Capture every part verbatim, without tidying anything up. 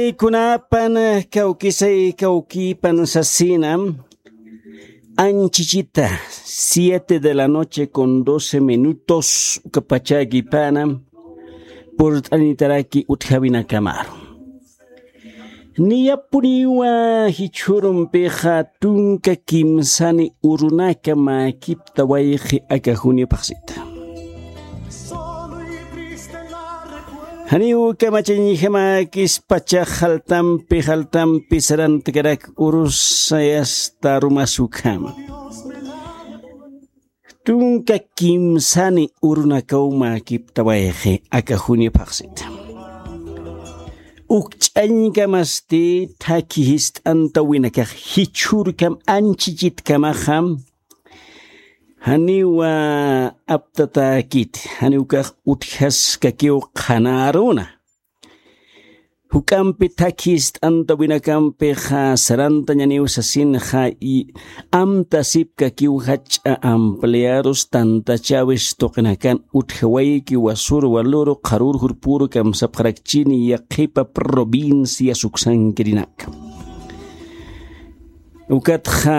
Kunapan kawkisay kawkipan sasina, anchichita, siete de la noche con doce minutos, ukapachakipana purt'anitaraki utjawinakamaru. Niyapuniwa jichhurumpixa tunka kimsani urunaka mäkipta wayqi aka juniapxsita. Janiw kamachañjamäkispacha jaltampi jaltampi sarantkarak urusayasta arumas ukhama. Tunka kimsani urunakaw mäkipta wayqi aka juniapxsita. Ukch'añkamasti thakhi jist'antawinakax jichhürkam anchichitkamaxa, janiwa aptatäkiti, janiw ukax utjaskakiw qhanäruna. Juk'ampi thakhi jist'antawinakampixa sarantañaniw sasinxa, amtasipkakiw jach'a ampliarus tantachäwis tuqinakan utjawayki wasür waluru qharür jurpüru kamsapxarakchini yaqhipa provincia suksankirinaka. Ukatxa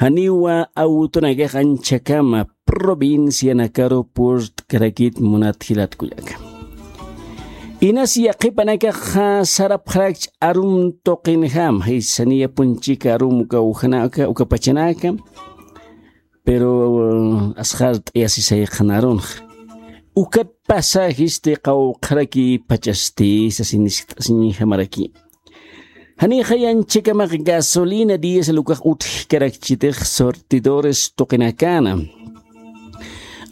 janiwa awtunakax anchhakama provincianakaru purt'karakit munat jilat kullaka. Inas yaqhipanakaxa sarapxarakch arum tuqinjam, jisa niyapunchika arum uka ujanaka, uka pachanaka, pero asxart'ayasisay qhanarunxa. Ukat pasajisti qawqharaki pachasti sasin niskt'asiñjamaraki. Janixa anchhakamax gasolina diésel ukax utjkarakchitix surtidores tuqinakana.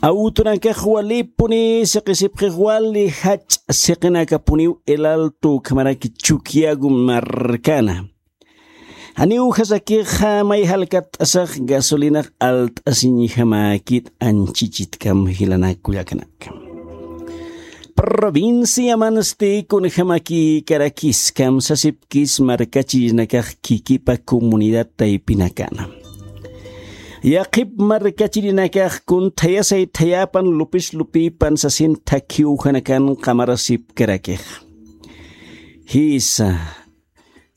Awtunakax walipuni siqisipxix wali jach'a siqinakapuniw El Alto ukhamaraki Chuquiago markana. Janiw ujasakixa may jalkatt'asax gasolinax alt'asiñjamäkit anchichitkam jilanak kullakanaka. Provinciamansti kunjamakïkarakis kamsasipkis markachirinakax khikipa comunidad taypinakana. Yaqhip markachirinakax kun thayasay thayapan lupis lupipan sasin thakhi ujanakan qamarasipkarakix. Jisa.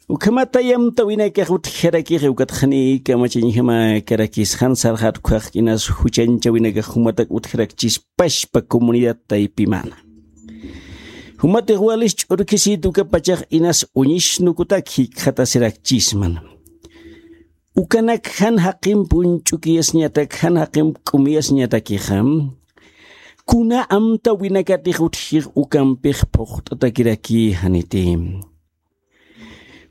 Ukhamat amtawinakax utjarakix, ukatxa janiy kamachañjamäkarakis, jan sarxat ukkhax inas juchañchawinakax jumatak utjarakchispachpa comunidad taypimana. Jumatix walis ch'urkhisit ukapachax inas uñisnukutak jikxatasirakchisman. Ukanak jan jaqimp uñch'ukiyasñatak, jan jaqimp k'umiyasñatakixa, kuna amtawinakatix utjix ukampix phuqt'atakiraki janiti.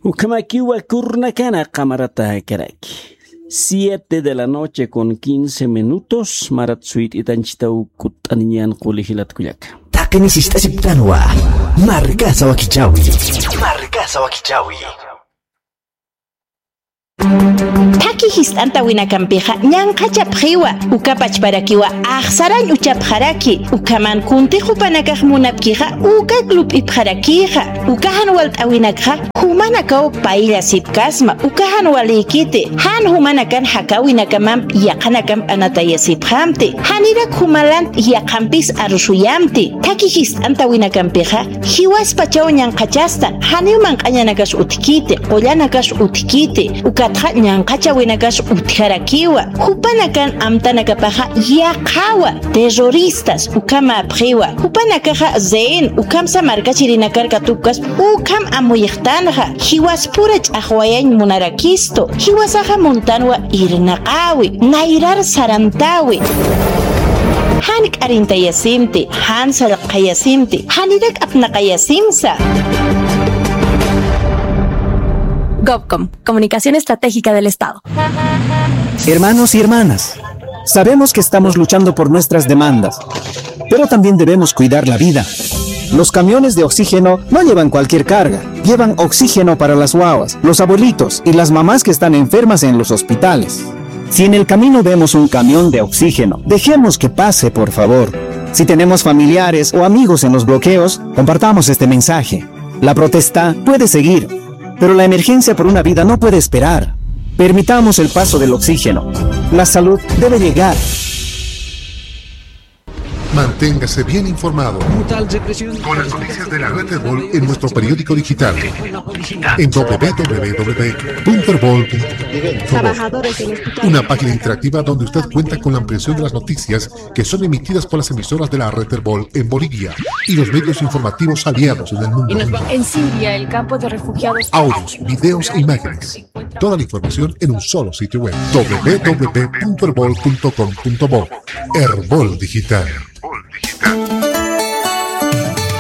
Ukhamakiwa kurnakana qamaratäkaraki. Siete de la noche con quince minutos, marat suyt'itanchitaw kutt'aniñan quli jilat kullaka. Taqini sist'asiptanwa, markasa wakichawi. Markasa wakichawi. Thakhi jist'antawinakampixa ñanqhachapxiwa, uka pachparakiwa axsarañ uchapxaraki, ukhaman kuntix jupanakax munapkixa ukak lup'ipxarakïxa, uka jan walt'awinakxa jumanakaw payllasipkasma, uka jan walïkiti, jan jumanakan jakäwinakamamp yaqhanakamp anatayasipxamti, janirak jumalant yaqhampis arusuyamti, thakhi jist'antawinakampixa, jiwaspachaw ñanqhachastan, janiw manq'añanakas utjkiti, qullanakas utjkiti, ukatxa ñanqhachawinakas utjarakiwa, jupanakan amtanakapaxa yaqhawa, terroristas, ukhamäpxiwa, jupanakaxa rehén, ukhamsa markachirinakar katupkaspa, ukham amuyxtanxa, jiwaspura ch'axwayañ munarakistu, jiwasaxa muntanwa irnaqäwi, nayrar sarantäwi. Jan k'arintayasimti, jan sallqayasimti, janirak apnaqayasimsa. Gobcom, Comunicación Estratégica del Estado. Hermanos y hermanas, sabemos que estamos luchando por nuestras demandas, pero también debemos cuidar la vida. Los camiones de oxígeno no llevan cualquier carga, llevan oxígeno para las guaguas, los abuelitos y las mamás que están enfermas en los hospitales. Si en el camino vemos un camión de oxígeno, dejemos que pase, por favor. Si tenemos familiares o amigos en los bloqueos, compartamos este mensaje. La protesta puede seguir, pero la emergencia por una vida no puede esperar. Permitamos el paso del oxígeno. La salud debe llegar. Manténgase bien informado con las noticias de la red Erbol en nuestro periódico digital en w w w punto erbol punto com. Una página interactiva donde usted cuenta con la ampliación de las noticias que son emitidas por las emisoras de la red Erbol en Bolivia y los medios informativos aliados en el mundo. En Siria, el campo de refugiados. Audios, videos e imágenes. Toda la información en un solo sitio web: w w w punto erbol punto com punto bo. Erbol Digital.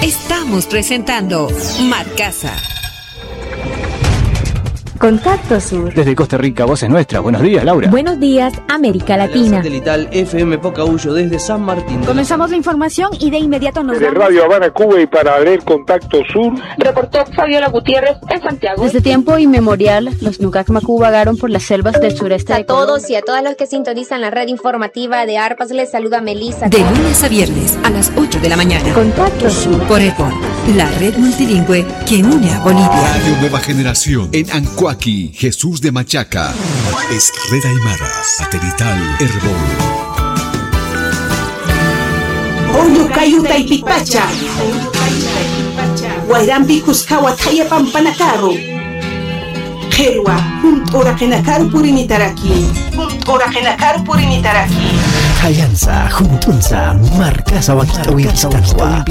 Estamos presentando Marcasa. Contacto Sur. Desde Costa Rica, voces nuestras. Buenos días, Laura. Buenos días, América Latina. Satelital F M Pocahuyo desde San Martín. Comenzamos la información y de inmediato nos vamos. Desde Radio Habana, Cuba, y para leer Contacto Sur, reportó Fabiola Gutiérrez en Santiago. Desde tiempo inmemorial, los Nukak Maku vagaron por las selvas del sureste de Colombia. A todos y a todas los que sintonizan la red informativa de Arpas, les saluda Melissa. De lunes a viernes a las ocho de la mañana. Contacto Sur. Por Erbol, la red multilingüe que une a Bolivia. Radio Nueva Generación en Ancoaqui, Jesús de Machaca. Es Red Aymara, satelital Erbol. Julio Cayo Taipipacha. Wayrampi Cuscawa Thaya Pampanakaru. Qhirwa, junt'u uraqinakaru purinitaraki. Junt'u uraqinakaru puritaraki. Jayansa, junt'unsa, Marcasa wakit'awimpistanwa.